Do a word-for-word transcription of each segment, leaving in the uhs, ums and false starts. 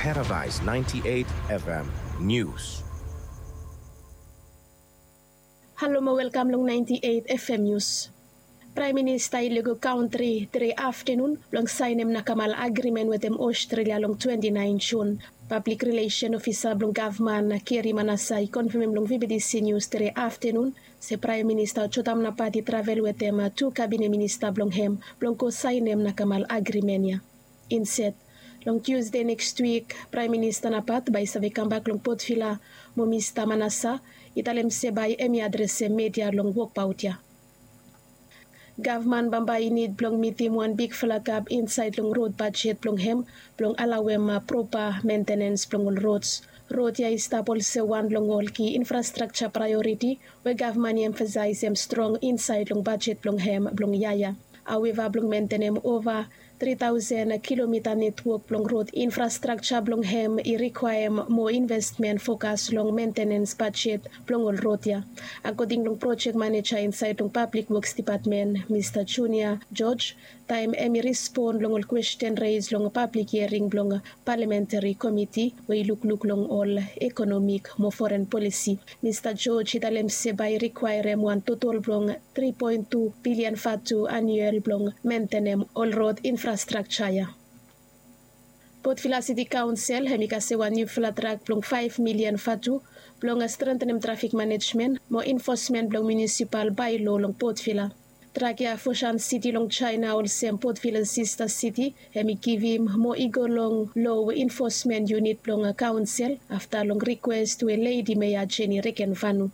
Paradise ninety-eight F M News. Halo mo welkam long ninety-eight F M News. Praem Minista i lego kantri tere aftenun blong saenem nakamal agrimen wetem Australia long twenty-nine Jun. Pablik rilesen ofisa blong gavman Keri Manasa i konfemem long V B T C News tere aftenun se Praem Minista Jotam Napat i travel wetem tu kabine minista blong hem blong go saenem nakamal agrimen ya. Inset, long Tusde nekswik, Praem Minista Napat bae i save kambak long Port Vila mo Mista Manasa i talem se bae hem i adresem media long wokbaot ya. Gavman bambae i nid blong mitim wan bigfala gap insaed long rod bajet blong hem blong alawem propa mentenens blong ol rods. Rod ya i stap olsem wan blong ol ki infrastrakja praeoriti we gavman i emfasaesem strong insaed long bajet blong hem blong yia ya. Haweva, blong mentenem ova tri taosen kilomita netwok blong rod infrastrakja blong hem i rikwaem moa investmen fokas long mentenens bajet blong ol rod ya. Akoding long projek maneja insaed long Pablik Woks Dipatmen, Mista Junia George, taem hem i respon long ol kwesten res long pablik hiering blong Palamentari Komiti we i lukluk long ol ekonomik mo foren polisi, Mista George i talem se bae i rikwaerem wan totol blong tri poen tu bilian vatu aniuel blong mentenem ol rod infrastrakja ya. Port Vila Siti Kaonsel hem i kasem wan niufala drak blong faef milian vatu blong strentenem trafik manejmen mo enfosmen blong munisipal baelo long Port Vila. Drak ya Foshan Siti long Jaena olsem Port Vila sista siti hem i givim mo i go long loa enfosmen iunit blong kaonsel afta long rikwes we Ledi Mea Jeni Rekenvanu.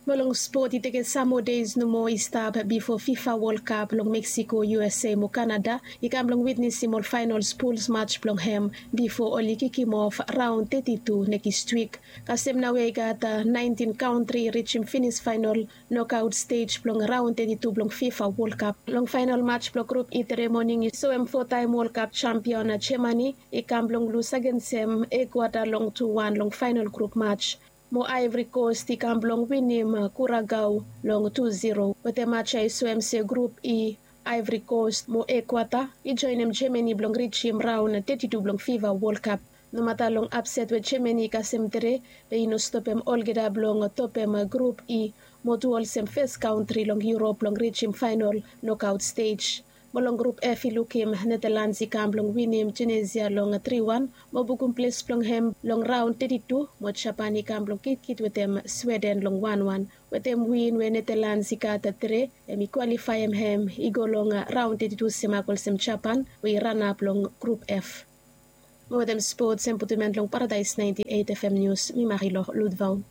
Mo long spot, i tekem sam moa deis nomo i stap bifo FIFA Wol Kap long Meksiko, U S A mo Kanada i kam blong witnesim ol faenols puls maj blong hem bifo oli kikimof raon teti tu nekis wik. Kasem nao ya i gat naentin kantri i rijim finis faenol nokaot stej blong raon teti tu blong FIFA Wol Kap. Long faenol maj blong grup i tere moning i soem fotaem Wol Kap jampion Jemani i kam blong lus agensem Ekuata long tu wan long faenol grup maj. Mo Aevri Kos i kam blong winim Kuragao long tu ziro. Wetem maj ya i soem se grup i Aevri Kos mo Ekuata i joenem Jemani blong rijim raon teti tu blong FIFA Wol Kap. Nomata long apset we Jemani i kasem tere, be i no stopem olgeta blong topem grup i mo tu olsem fes kantri long Yurop blong rijim faenol nokaot stej. Mo long grup F i lukim Netalans i kam blong winim Tunesia long tri wan mo bukum ples blong hem long raon teti tu, mo Japan i kam blong kitkit wetem Sweden long wan wan. Wetem win we Netalans i gat tere, hem i kwalifaem hem i go long raon teti tu semak olsem Japan we i ranap long grup F. Mo wetem spots hem putum en long Paradaes naenti eit F M Nius, mi Marilo Ludvau.